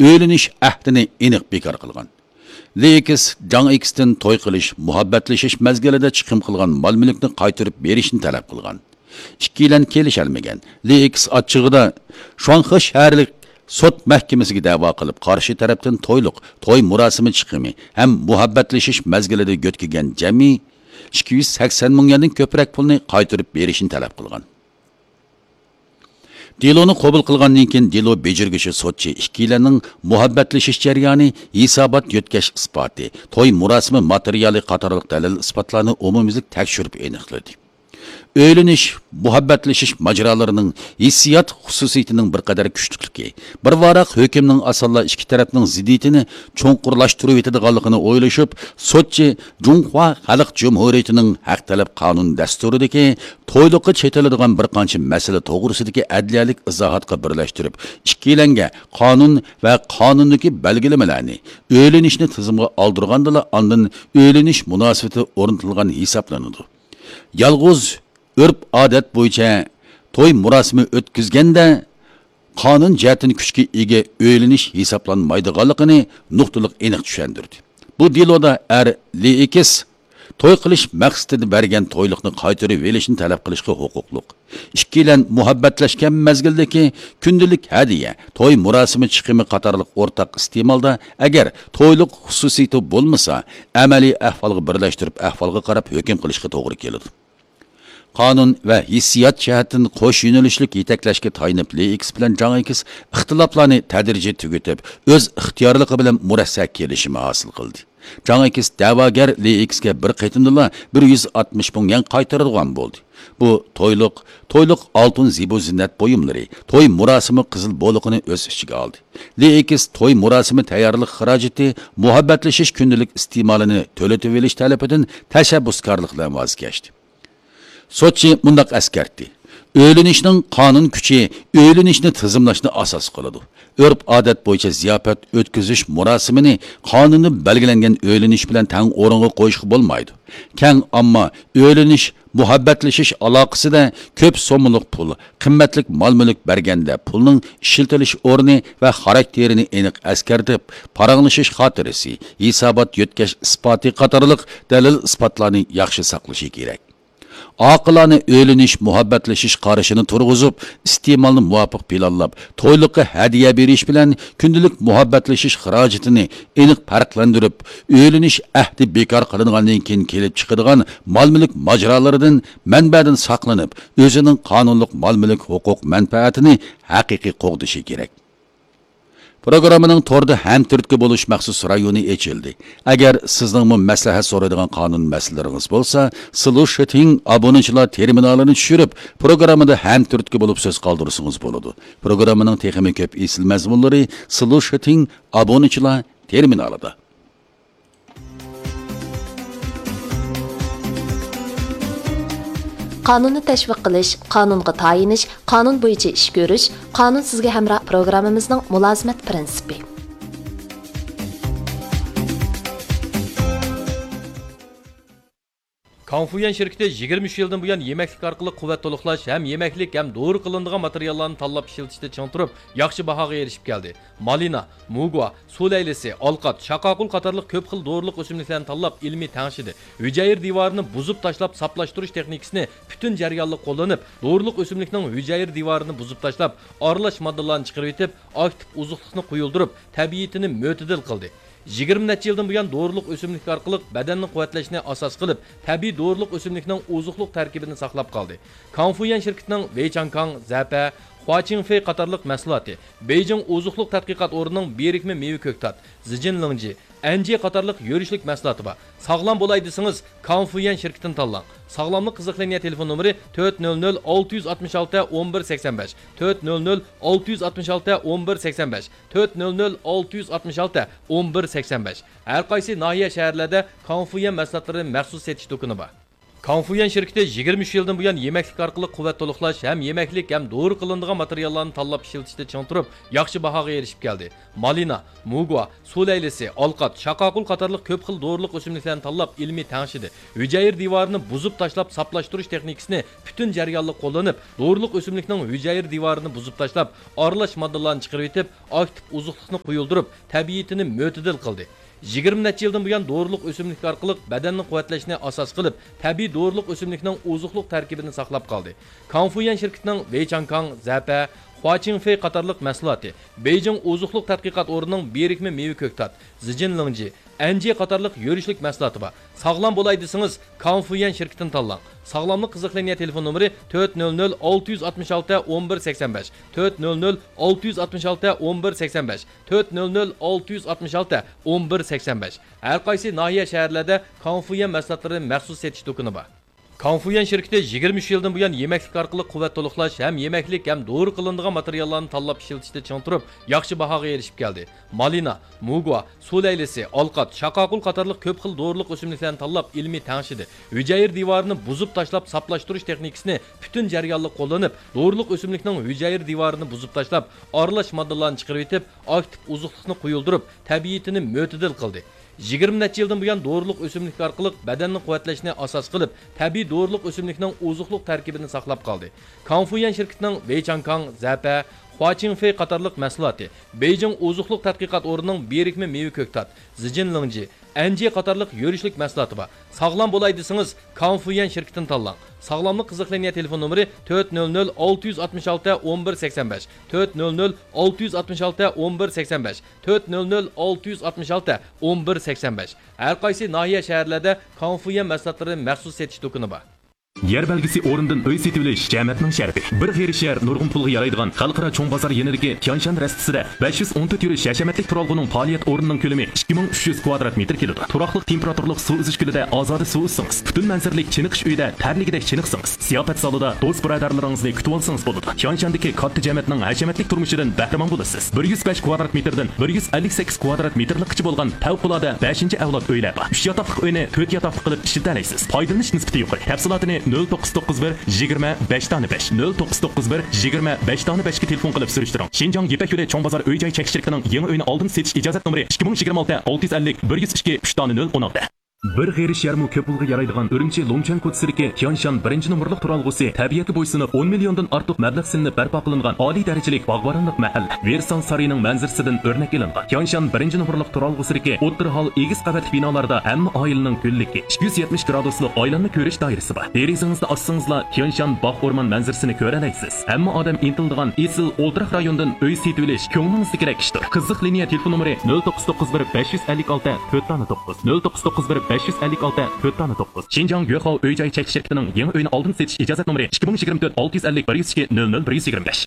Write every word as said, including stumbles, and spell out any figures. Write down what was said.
ئۆيلىنىش ئەھدىنى ئېنىق بىكار قىلغان. لېئېكس جاڭ ئېكستىن توي قىلىش، مۇھەببەتلىشىش مەزگىلىدە چىقىم قىلغان مال-مۈلۈكنى قايتۇرۇپ بېرىشنى تەلەپ قىلغان. ئىككىيلەن كېلىشەلمىگەن. لېئېكس ئاچچىقىدا شۇاڭخې شەھەرلىك سوت مەھكىمىسىگە دەۋا قىلىپ، قارشى تەرەپتىن تويلۇق، توي مۇراسىمى چىقىمى ھەم مۇھەببەتلىشىش مەزگىلىدە يۆتكىگەن جەمئىي ئىككى يۈز سەكسەن مىڭ يۈەندىن كۆپرەك پۇلنى قايتۇرۇپ بېرىشنى تەلەپ قىلغان. دېلونى قوبۇل قىلغاندىن كېيىن، دېلو بېجىرگۈچى سوتچى ئىككىيلەننىڭ مۇھەببەتلىشىش جەريانى، ھېسابات يۆتكەش ئىسپاتى، توي مۇراسىمى ماتېرىيالى قاتارلىق دەلىل-ئىسپاتلارنى ئومۇميۈزلۈك تەكشۈرۈپ ئېنىقلىدى. ئۆيلىنىش، مۇھەببەتلىشىش ماجىرالىرىنىڭ ھېسسىيات خۇسۇسىيىتىنىڭ بىر قەدەر كۈچلۈكلۈكى، بىر ۋاراق ھۆكۈمنىڭ ئاسانلا ئىككى تەرەپنىڭ زىددىيىتىنى چوڭقۇرلاشتۇرۇۋېتىدىغانلىقىنى ئويلىشىپ، سوتچى جۇڭخۇا خەلق جۇمھۇرىيىتىنىڭ ھەق تەلەپ قانۇن دەستۇرىدىكى تويلۇققا چېتىلىدىغان بىر قانچە مەسىلە توغرىسىدىكى ئەدلىيەلىك ئىزاھاتقا بىرلەشتۈرۈپ، ئىككىيلەنگە قانۇن ۋە قانۇندىكى بەلگىلىمىلەرنى، ئۆيلىنىشنى تىزىمغا ئالدۇرغاندىلا، ئاندىن ئۆيلىنىش مۇناسىۋىتى ئورنىتىلغان ھېسابلىنىدۇ. يالغۇز ئۆرپ-ئادەت بويىچە توي مۇراسىمى ئۆتكۈزگەندە، قانۇن جەھەتتىن كۈچكە ئىگە ئۆيلىنىش ھېسابلانمايدىغانلىقىنى نۇقتىلىق ئېنىق چۈشەندۈردى. بۇ دېلودا ئەر لېئېكس توي قىلىش مەقسىتىدە بەرگەن تويلۇقنى قايتۇرۇۋېلىشنى تەلەپ قىلىشقا ھوقۇقلۇق. ئىككىيلەن مۇھەببەتلەشكەن مەزگىلدىكى كۈندىلىك ھەدىيە، توي مۇراسىمى چىقىمى قاتارلىق ئورتاق ئىستېمالدا، ئەگەر تويلۇق خۇسۇسىيىتى بولمىسا، ئەمەلىي ئەھۋالغا بىرلەشتۈرۈپ، ئەھۋالغا قاراپ ھۆكۈم قىلىشقا توغرا كېلىدۇ. قانۇن ۋە ھېسسىيات جەھەتتىن قوش يۆنىلىشلىك يېتەكلەشكە تايىنىپ، لېئېكس بىلەن جاڭ ئېكس ئىختىلاپلارنى تەدرىجىي تۈگىتىپ، ئۆز ئىختىيارلىقى بىلەن مۇرەسسە كېلىشىمى ھاسىل قىلدى. جاڭ ئېكس دەۋاگەر لېئېكسكە بىر قېتىمدىلا بىر يۈز ئاتمىش مىڭ يۈەن قايتۇرىدىغان بولدى. بۇ تويلۇق، تويلۇق ئالتۇن زىبۇ زىننەت بۇيۇملىرى، توي مۇراسىمى قىزىل بولىقىنى ئۆز ئىچىگە ئالدى. لېئېكس توي مۇراسىمى تەييارلىق خىراجىتى، مۇھەببەتلىشىش كۈندىلىك ئىستېمالىنى تۆلىتىۋېلىش تەلىپىدىن تەشەببۇسكارلىق بىلەن ۋاز كەچتى. سوتچى مۇنداق ئەسكەرتتى: ئۆيلىنىشنىڭ قانۇن كۈچى ئۆيلىنىشنى تىزىملاشنى ئاساس قىلىدۇ. ئۆرپ-ئادەت بويىچە زىياپەت ئۆتكۈزۈش مۇراسىمىنى قانۇندا بەلگىلەنگەن ئۆيلىنىش بىلەن تەڭ ئورۇنغا قويۇشقا بولمايدۇ. كەڭ ئامما ئۆيلىنىش، مۇھەببەتلىشىش ئالاقىسىدە كۆپ سوممىلىق پۇل، قىممەتلىك مال-مۈلۈك بەرگەندە، پۇلنىڭ ئىشلىتىلىش ئورنى ۋە خاراكتېرىنى ئېنىق ئەسكەرتىپ، پاراڭلىشىش خاتىرىسى، ھېسابات يۆتكەش ئىسپاتى قاتارلىق دەلىل-ئىسپاتلارنى ياخشى ساقلىشى كېرەك. ئاقىلانە ئۆيلىنىش، مۇھەببەتلىشىش قارىشىنى تۇرغۇزۇپ، ئىستېمالنى مۇۋاپىق پىلانلاپ، تويلۇققا ھەدىيە بېرىش بىلەن كۈندىلىك مۇھەببەتلىشىش خىراجىتىنى ئېنىق پەرقلەندۈرۈپ، ئۆيلىنىش ئەھدى بىكار قىلىنغاندىن كېيىن كېلىپ چىقىدىغان مال-مۈلۈك ماجىرالىرىدىن، مەنبەدىن ساقلىنىپ، ئۆزىنىڭ قانۇنلۇق مال-مۈلۈك ھوقۇق مەنپەئەتىنى ھەقىقىي قوغدىشى كېرەك. پروگراممىنىڭ توردا ھەمتۈرتكە بولۇش مەخسۇس رايونى ئېچىلدى. ئەگەر سىزنىڭمۇ مەسلىھەت سورايدىغان قانۇن مەسىلىلىرىڭىز بولسا، سلۇشىتىڭ ئابۇنىچىلار تېرمىنالىنى چۈشۈرۈپ، پروگراممىدا ھەمتۈرتكە بولۇپ سۆز قالدۇرسىڭىز بولىدۇ. پروگراممىنىڭ تېخىمۇ كۆپ ئېسىل مەزمۇنلىرى سلۇشىتىڭ ئابۇنىچىلار تېرمىنالىدا. قانۇننى تەشۋىق قىلىش، قانۇنغا تايىنىش، قانۇن بويىچە ئىش كۆرۈش، قانۇن سىزگە ھەمراھ پروگراممىمىزنىڭ مۇلازىمەت پىرىنسىپى. كاڭفۇيۈەن شىركىتى يىگىرمە ئۈچ يىلدىن بۇيان يېمەكلىك ئارقىلىق قۇۋۋەت تولۇقلاش ھەم يېمەكلىك ھەم دورا قىلىنىدىغان ماتېرىياللارنى تاللاپ ئىشلىتىشتە چىڭ تۇرۇپ، ياخشى باھاغا ئېرىشىپ كەلدى. مالىنا، مۇگۇا، سۇ لەيلىسى، ئالقات، شاقاقۇل قاتارلىق كۆپ خىل دورىلىق ئۆسۈملۈكلەرنى تاللاپ ئىلمىي تەڭشىدى. ھۈجەيرە دىۋارىنى بۇزۇپ تاشلاپ ساپلاشتۇرۇش تېخنىكىسىنى پۈتۈن جەريانلىق قوللىنىپ، دورىلىق ئۆسۈملۈكنىڭ ھۈجەيرە دىۋارىنى بۇزۇپ تاشلاپ، ئارىلاش ماددىلارنى چىقىرىۋېتىپ، ئاكتىپ ئوزۇقلۇقنى قويۇلدۇرۇپ، تەبىئىتىنى مۆتىدىل قىلدى. يىگىرمە نەچچە يىلدىن بۇيان دورىلىق ئۆسۈملۈك ئارقىلىق بەدەننى قۇۋۋەتلەشنى ئاساس قىلىپ، تەبىئىي دورىلىق ئۆسۈملۈكنىڭ ئوزۇقلۇق تەركىبىنى ساقلاپ قالدى. كاڭفۇيۈەن شىركىتىنىڭ ۋېيچاڭكاڭ، زەپە، خۇاچىڭفېي قاتارلىق مەھسۇلاتى، بېيجىڭ ئوزۇقلۇق تەتقىقات ئورنىنىڭ بىرىكمە مېۋە كۆكتات، زىجىنلىڭجى، ئەنجى قاتارلىق يۈرۈشلۈك مەھسۇلاتى بار. ساغلام بولاي دېسىڭىز، كاڭفۇيۈەن شىركىتىنى تاللاڭ. ساغلاملىق قىزىق لىنىيە تېلېفون نومۇرى تۆت نۆل نۆل ئالتە يۈز ئاتمىش ئالتە ئون بىر سەكسەن بەش، تۆت نۆل نۆل ئالتە يۈز ئاتمىش ئالتە ئون بىر سەكسەن بەش، تۆت نۆل نۆل ئالتە يۈز ئاتمىش ئالتە ئون بىر سەكسەن بەش. ھەر قايسى ناھىيە، شەھەرلەردە كاڭفۇيۈەن مەھسۇلاتلىرى مەخسۇس سېتىش دۇكىنى بار. كاڭفۇيۈەن شىركىتى يىگىرمە ئۈچ يىلدىن بۇيان يېمەكلىك ئارقىلىق قۇۋۋەت تولۇقلاش ھەم يېمەكلىك ھەم دورا قىلىنىدىغان ماتېرىياللارنى تاللاپ ئىشلىتىشتە چىڭ تۇرۇپ، ياخشى باھاغا ئېرىشىپ كەلدى. مالىنا، موگۋا، سۇ لەيلىسى، ئالقات، شاقاقۇل قاتارلىق كۆپ خىل دورىلىق ئۆسۈملۈكلەرنى تاللاپ ئىلمىي تەڭشىدى. ھۈجەيرە دىۋارىنى بۇزۇپ تاشلاپ ساپلاشتۇرۇش تېخنىكىسىنى پۈتۈن جەريانلىق قوللىنىپ، دورىلىق ئۆسۈملۈكنىڭ ھۈجەيرە دىۋارىنى بۇزۇپ تاشلاپ، ئارىلاش ماددىلارنى چىقىرىۋېتىپ، ئاكتىپ ئوزۇقلۇقنى قويۇلدۇرۇپ، تەبىئىتىنى مۆتىدىل قىلدى. يىگىرمە نەچچە يىلدىن بۇيان دورىلىق ئۆسۈملۈك ئارقىلىق بەدەننى قۇۋۋەتلەشنى ئاساس قىلىپ، تەبىئىي دورىلىق ئۆسۈملۈكنىڭ ئوزۇقلۇق تەركىبىنى ساقلاپ قالدى. كاڭفۇيۈەن شىركىتىنىڭ ۋېيچاڭكاڭ، زەپە، خۇاچىڭفېي قاتارلىق مەھسۇلاتى، بېيجىڭ ئوزۇقلۇق تەتقىقات ئورنىنىڭ بىرىكمە مېۋە كۆكتات، زىجىن لىڭجى، ئەنجى قاتارلىق يۈرۈشلۈك مەھسۇلاتى بار. ساغلام بولاي دېسىڭىز، كاڭفۇيۈەن شىركىتىنى تاللاڭ. ساغلاملىق قىزىق لىنىيە تېلېفون نومۇرى تۆت نۆل نۆل ئالتە يۈز ئاتمىش ئالتە ئون بىر سەكسەن بەش، تۆت نۆل نۆل ئالتە يۈز ئاتمىش ئالتە ئون بىر سەكسەن بەش، تۆت نۆل نۆل ئالتە يۈز ئاتمىش ئالتە ئون بىر سەكسەن بەش. ھەر قايسى ناھىيە، شەھەرلەردە كاڭفۇيۈەن مەھسۇلاتلىرىنىڭ مەخسۇس سېتىش دۇكىنى بار. كاڭفۇيۈەن شىركىتى يىگىرمە ئۈچ يىلدىن بۇيان يېمەكلىك ئارقىلىق قۇۋۋەت تولۇقلاش ھەم يېمەكلىك ھەم دورا قىلىنىدىغان ماتېرىياللارنى تاللاپ ئىشلىتىشتە چىڭ تۇرۇپ، ياخشى باھاغا ئېرىشىپ كەلدى. مالىنا، موگۋا، سۇ لەيلىسى، ئالقات، شاقاقۇل قاتارلىق كۆپ خىل دورىلىق ئۆسۈملۈكلەرنى تاللاپ ئىلمىي تەڭشىدى. ھۈجەيرە دىۋارىنى بۇزۇپ تاشلاپ ساپلاشتۇرۇش تېخنىكىسىنى پۈتۈن جەريانلىق قوللىنىپ، دورىلىق ئۆسۈملۈكنىڭ ھۈجەيرە دىۋارىنى بۇزۇپ تاشلاپ، ئارىلاش ماددىلارنى چىقىرىۋېتىپ، ئاكتىپ ئوزۇقلۇقنى قويۇلدۇرۇپ، تەبىئىتىنى مۆتىدىل قىلدى. يىگىرمە نەچچە يىلدىن بۇيان دورىلىق ئۆسۈملۈك ئارقىلىق بەدەننى قۇۋۋەتلەشنى ئاساس قىلىپ، تەبىئىي دورىلىق ئۆسۈملۈكنىڭ ئوزۇقلۇق تەركىبىنى ساقلاپ قالدى. كاڭفۇيۈەن شىركىتىنىڭ ۋېيچاڭكاڭ، زەپە، خۇاچىڭفېي قاتارلىق مەھسۇلاتى، بېيجىڭ ئوزۇقلۇق تەتقىقات ئورنىنىڭ بىرىكمە مېۋە كۆكتات، زىجىن لىڭجى، ئەنجى قاتارلىق يۈرۈشلۈك مەھسۇلاتى بار. ساغلام بولاي دېسىڭىز، كاڭفۇيۈەن شىركىتىنى تاللاڭ. ساغلاملىق قىزىق لىنىيە تېلېفون نومۇرى تۆت نۆل نۆل ئالتە يۈز ئاتمىش ئالتە ئون بىر سەكسەن بەش، تۆت نۆل نۆل ئالتە يۈز ئاتمىش ئالتە ئون بىر سەكسەن بەش، تۆت نۆل نۆل ئالتە يۈز ئاتمىش ئالتە ئون بىر سەكسەن بەش. ھەر قايسى ناھىيە، شەھەرلەردە كاڭفۇيۈەن مەھسۇلاتلىرىنىڭ مەخسۇس سېتىش دۇكىنى بار. يەر بەلگىسى ئورنىدىن ئۆي سېتىۋېلىش جەمەتنىڭ شەرىپى. بىر غېرىب شەھەر نۇرغۇن پۇلغا يارايدىغان خەلقئارا چوڭ بازار يېنىدىكى تيانشان رەستىسىدە بەش يۈز ئون تۆت يۈرۈش ھەشەمەتلىك تۇرالغۇنىڭ پائالىيەت ئورنىنىڭ كۆلىمى ئىككى مىڭ ئۈچ يۈز كۋادرات مېتىر كېلىدۇ. تۇراقلىق تېمپېراتۇرىلىق سۇ ئۈزۈش كۆلىدە ئازادە سۇ ئۈزسىڭىز، پۈتۈن مەنزىرىلىك چېنىقىش ئۆيىدە تەرلىگۈدەك چېنىقسىڭىز، زىياپەت زالىدا دوست بۇرادەرلىرىڭىزنى كۈتۈۋالسىڭىز بولىدۇ. تيانشاندىكى كاتتا جەمەتنىڭ ھەشەمەتلىك تۇرمۇشىدىن بەھرىمەن بولىسىز. بىر يۈز بەش كۋادرات مېتىردىن بىر يۈز ئەللىك سەككىز كۋادرات مېتىرلىكقىچە بولغان پەۋقۇلئاددە بەشىنچى ئەۋلاد ئۆيلەر بار. ئۈچ ياتاقلىق ئۆينى تۆت ياتاقلىق قىلىپ ئىشلىتەلەيسىز. پايدىلىنىش نىسبىتى يۇقىرى. تەپسىلاتىنى نۆل توققۇز توققۇز بىر يىگىرمە بەش دانە بەش، نۆل توققۇز توققۇز بىر يىگىرمە بەش دانە بەشكە تېلېفون قىلىپ سۈرۈشتۈرۈڭ. شىنجاڭ يىپەك يولى چوڭ بازار ئۆي جاي چەكلىك شىركىتىنىڭ يېڭى ئۆينى ئالدىن سېتىش ئىجازەت نومۇرى ئىككى مىڭ يىگىرمە ئالتە ئالتە يۈز ئەللىك بىر يۈز ئىككى ئۈچ دانە نۆل ئون ئالتە. بىر غېرىب شەھەرمۇ كۆپ پۇلغا يارايدىغان ئۈرۈمچى لۇڭچۈەن كوچىسىدىكى تيانشان بىرىنچى نومۇرلۇق تۇرالغۇسى تەبىئەتكە بويسۇنۇپ، ئون مىليوندىن ئارتۇق مەبلەغ سېلىنىپ بەرپا قىلىنغان ئالىي دەرىجىلىك باغۋەنلىك مەھەللە، ۋېرسال سارىيىنىڭ مەنزىرىسىدىن ئۆرنەك ئېلىنغان. تيانشان بىرىنچى نومۇرلۇق تۇرالغۇسىدىكى ئوتتۇرا ھال ئېگىز قەۋەتلىك بىنالاردا ھەممە ئائىلىنىڭ گۈللۈكى، ئىككى يۈز يەتمىش گرادۇسلۇق ئايلانما كۆرۈش دائىرىسى بار. دېرىزىڭىزنى ئاچسىڭىزلا تيانشان باغ ئورمان مەنزىرىسىنى كۆرەلەيسىز. ھەممە ئادەم ئىنتىلىدىغان ئېسىل ئولتۇراق رايوندىن ئۆي سېتىۋېلىش كۆڭلىڭىزدىكىدەك ئىشتۇر. قىزىق لىنىيە تېلېفون نومۇرى نۆل توققۇز توققۇز بىر بەش يۈز ئەللىك ئالتە تۆت دانە توققۇز، نۆل توققۇز توققۇز بىر بەش يۈز ئەللىك ئالتە تۆت دانە توققۇز. شىنجاڭ يۆخاۋ ئۆي جاي چەكلىك شىركىتىنىڭ يېڭى ئۆينى ئالدىن سېتىش ئىجازەت نومۇرى ئىككى مىڭ يىگىرمە تۆت ئالتە يۈز ئەللىك بىر يۈز ئىككى نۆل نۆل بىر يۈز يىگىرمە بەش.